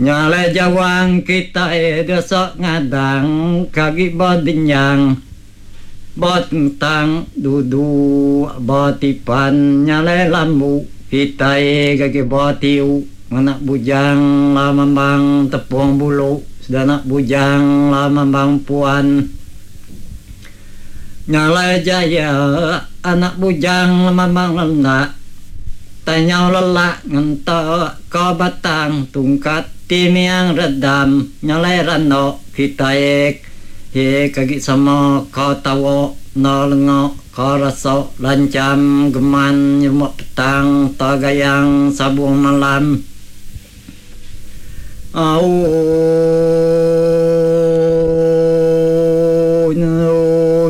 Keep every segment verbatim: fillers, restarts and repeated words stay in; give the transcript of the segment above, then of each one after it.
Nya alai jawang kitai desa ngadang kagi ba denyang ba tentang duduk ba tipan nya alai lambu kitai gagi ba tiu ngena bujang lamambang tepung bulu sedana bujang lamambang puan. Nya alai jaya anak bujang lamambang lenak tanyau lelak ngentak ka batang tungkat ti miang redam nya alai randok kitai he kagi sama ka tawa enda lenga ka rasa lancham geman nyerumba petang ta gayang sabung malam. Au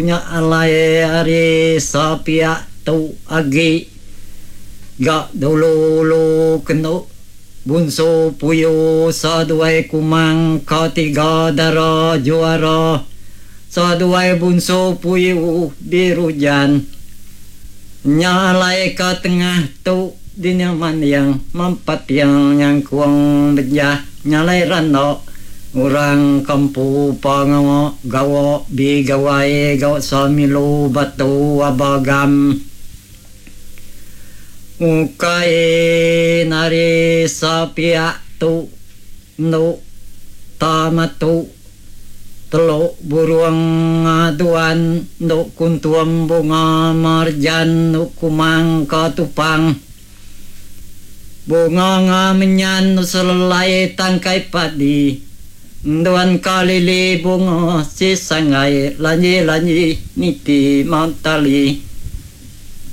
nya alai ari sapiak tu agi ga dulu-ulu kenu Bunsu Puyu saduai Kumang ka tiga dara juara saduai Bunsu Puyu Birujan. Nya alai ka tengah tu dinya manding mempating nyangkung bejah nya alai randa orang kampu pengawa gawa bigawai gawa samilu batu abagam. Ukai nari sapiak tu endu tamatu teluk burung aduan endu kuntum bunga marjan endu kumang ka tupang bunga ngamenyan selelai tangkai padi enduan ka lili bunga si sanggai lanji-lanji niti matali.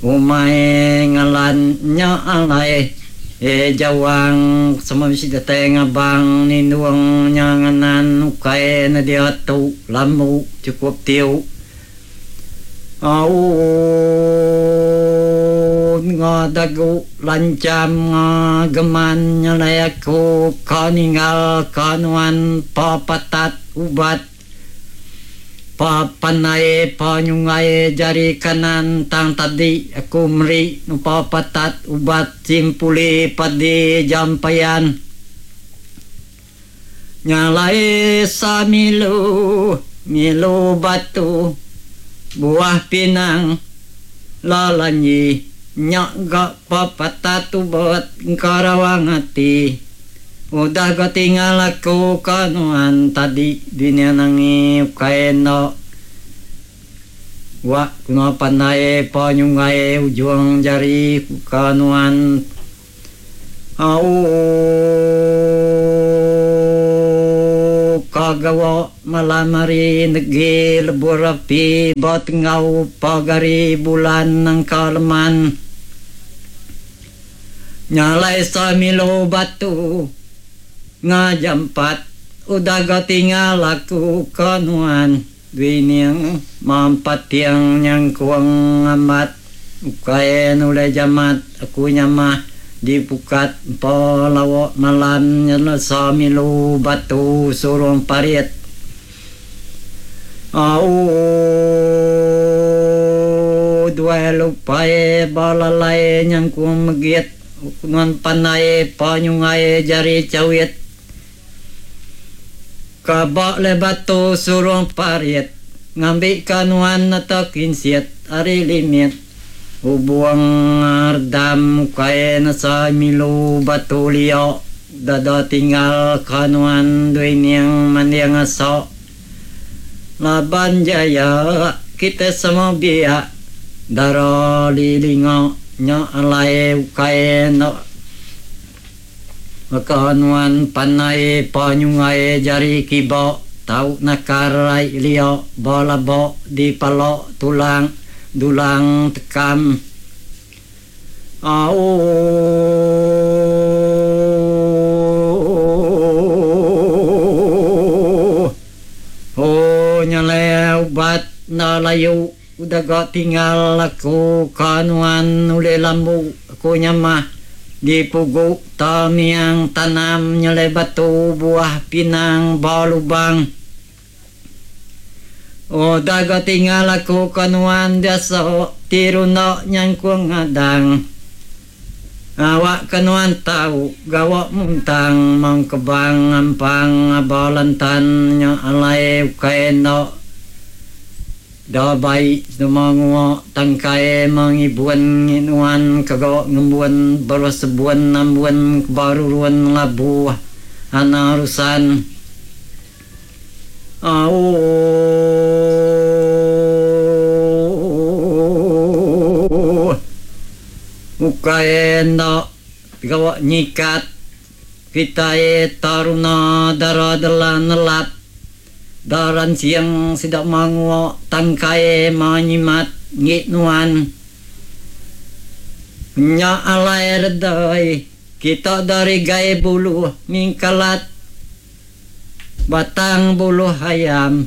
Umai ngalan nya alai e jawang sama bisi datai ngabang nindung nya nganan ukai ne diatu lambu chukup tiu. Au nga dagu lancham nga geman nya alai aku ka ninggal ka nuan pa patat ubat. Pa pandai pa nyungai jari kanan tang tadi aku meri nupa patat ubat simpuli padi jampayan. Nya alai samilu milu batu buah pinang lalanyi nya ga pa patat ubat engkarawang ati. Udah ga tinggal aku ka nuan tadi dunya nangi ukai enda. Wak kena pandai pa nyungai ujung jari ka nuan. Au ka gawa malam hari negi lebur api ba tengau pagari bulan nangka leman. Nya alai samilu batu ngajampat udah ga tinggal aku ka nuan duining mampat tiang nyangkung amat ukai nulai jamat aku nyamah di pukat empa lawa malam nyelesa milu batu surung parit. Au duai lupai balalai nyangkung megit nuan pandai pa nyungai jari chawit. Ka ba le batu surung parit ngambi ka nuan atau kinsit ari limit. Ubuang ardam ukai nesa milu batu liok dada tinggal ka nuan duining manding asok. Laban jaya kita semua biak dara lilinga nya alai ukai no maka nuan pandai pa nyungai jari kiba tau nakar ai liok balabok di palok tulang dulang tekam. Au oh nyalai ubat na layu udah ga tinggal aku ka nuan ulih lambu aku nyamah di pugu tamiang tanam nyalai batu buah pinang ba lubang. Oh daga tinggal aku ka nuan biasa tiruna nyangkung ngadang. Awak kenuan tau gawak muntang mengkebang ampang abalantan nya alai ukai enda da baik semua ngua tangkai mengibuan nuan kegawak ngembuan baru sebuan nambuan baruruan labuh anarusan. Au ukai enda gawak nyikat kita taruna dara delan nelap daran siang sidak mangua tangkai manyimat ngit nuan nya alai redai kita dari gai buluh mingkalat batang buluh ayam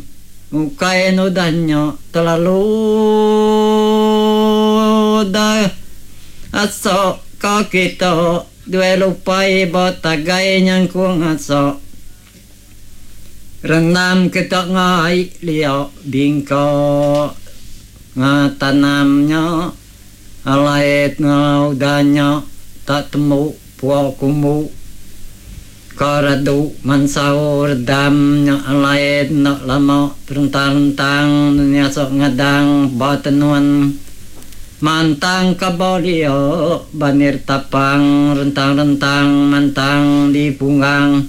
ukai nudahnya terlalu dah asok ka kita dua lupai batagai nyangkung asok renam kita ngai liok bingko ngatanamnya alai ngaudanya tak temu puak kumu karadu mansau redamnya alai nak lama terentang-rentang nyasok ngadang batenuan mantang kabolio banir tapang rentang-rentang mantang di punggang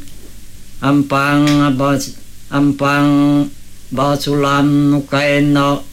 ampang abas ampang basulam nukai no